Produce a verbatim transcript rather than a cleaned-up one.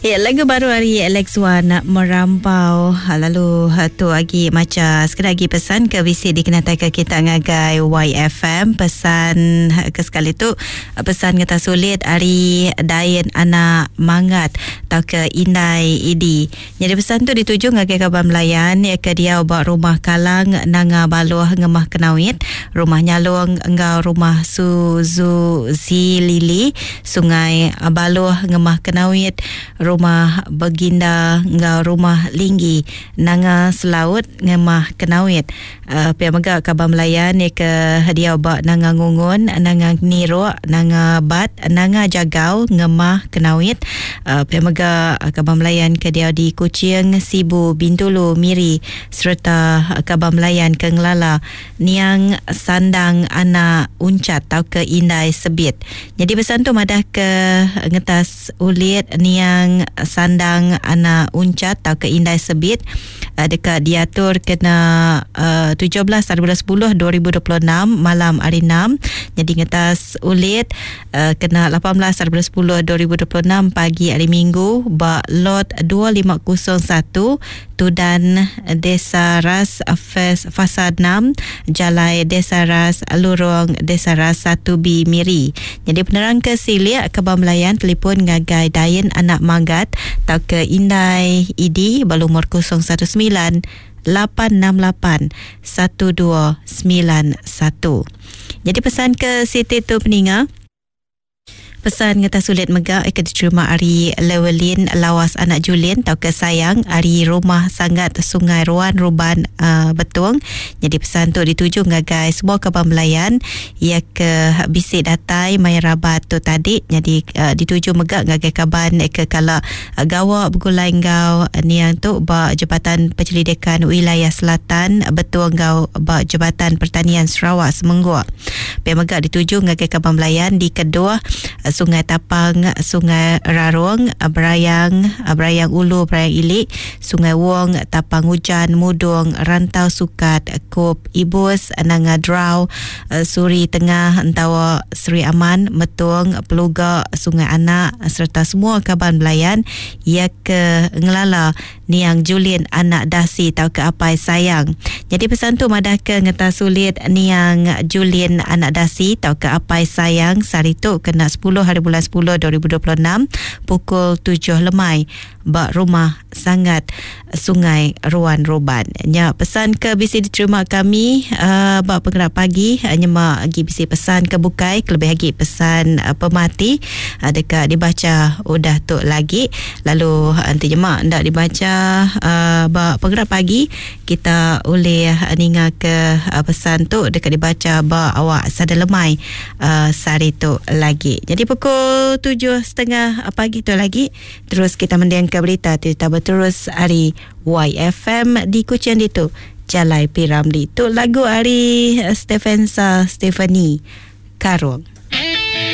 Ya, lagu baru hari Alex Wan merampau lalu tu lagi maca sekali lagi pesan ke visi dikenatai ke kita ngagai Y F M. Pesan ke sekali tu pesan ngeta sulit hari Dain anak Mangat atau ke Indai Idi. Jadi pesan tu dituju ngagai kaban Melayan ya ke dia ba rumah Kalang Nanga Baloh Ngemah Kenawit, rumah Nyalong enggau rumah Suzu Zilili Sungai Baloh Ngemah Kenawit, rumah Beginda enggau rumah Linggi Nanga Selaut Ngemah Kenawit. Uh, pihak mega kaban Melayan ya ke dia ba Nanga Ngungun, Nanga Niruk, Nanga Bat, Nanga Jagau Ngemah Kenawit. Uh, pihak mega kaban Melayan ke dia di Kuching, Sibu, Bintulu, Miri serta kaban Melayan ke Ngelala Niang Sandang Anak Uncat atau ke Indai Sebit. Jadi pesan tu madah ke ngetas ulit Niang Sandang Anak Uncat atau ke Indai Sebit uh, dekat diatur kena uh, tujuh belas hari bulan sepuluh dua ribu dua puluh enam malam hari enam. Jadi ngetas ulit uh, kena lapan belas hari bulan sepuluh dua ribu dua puluh enam pagi hari Minggu ba lot dua lima kosong satu Tudan Desa Ras Fasa enam Jalai Desa Ras Lurung Desa Ras satu B Miri. Jadi penerang ke Siliak Kebang Melayan telefon ngagai Dain Anak Manggat atau ke Indai Idi berumur kosong satu sembilan lapan enam lapan satu dua sembilan satu. Jadi pesan ke Siti tu peninga. Pesan ngeta sulit mega ikan diterima hari Lewelin Lawas Anak Julin atau ke Sayang hari Rumah Sangat Sungai Ruan Ruban uh, Betung. Jadi pesan tu dituju ngagai semua kaban Melayan ia ke bisik datai mai rabat tu tadi. Jadi uh, dituju mega ngagai kaban ke kala uh, gawa bergulai ngau niang tu ba Jabatan Penyelidikan Wilayah Selatan Betung ngau ba Jabatan Pertanian Sarawak Semengguk. Pihak mega dituju ngagai kaban Melayan di kedua Sungai Tapang, Sungai Rarung, Berayang, Berayang Ulu, Berayang Ilik, Sungai Wong, Tapang Hujan, Mudung, Rantau Sukat, Kop, Ibus, Nanga Drau, Suri Tengah, Entawa, Seri Aman, Metung, Peluga, Sungai Anak serta semua kaban Melayan ia ke Ngelala Niang Julin Anak Dasi atau ke Apai Sayang. Jadi pesan tu madah ke ngeta sulit Niang Julin Anak Dasi atau ke Apai Sayang sehari tu kena sepuluh hari bulan sepuluh dua ribu dua puluh enam pukul tujuh lemai bak rumah Sangat Sungai Ruan Roban. Nya pesan ke bisi diterima kami uh, bak penggerak pagi uh, nyemak gi bisi pesan ke bukai kelebih lagi pesan uh, pemati uh, dekat dibaca udah tu lagi lalu nanti nyemak ndak dibaca uh, bak penggerak pagi kita boleh ninga ke uh, pesan tu dekat dibaca bak awak sada lemai uh, sehari tu lagi. Jadi pukul tujuh setengah pagi tu lagi terus kita mendengar berita cerita berterus hari Y F M di Kuching itu Jalai Piramli. Tu lagu hari Stephensa Stephanie Karung.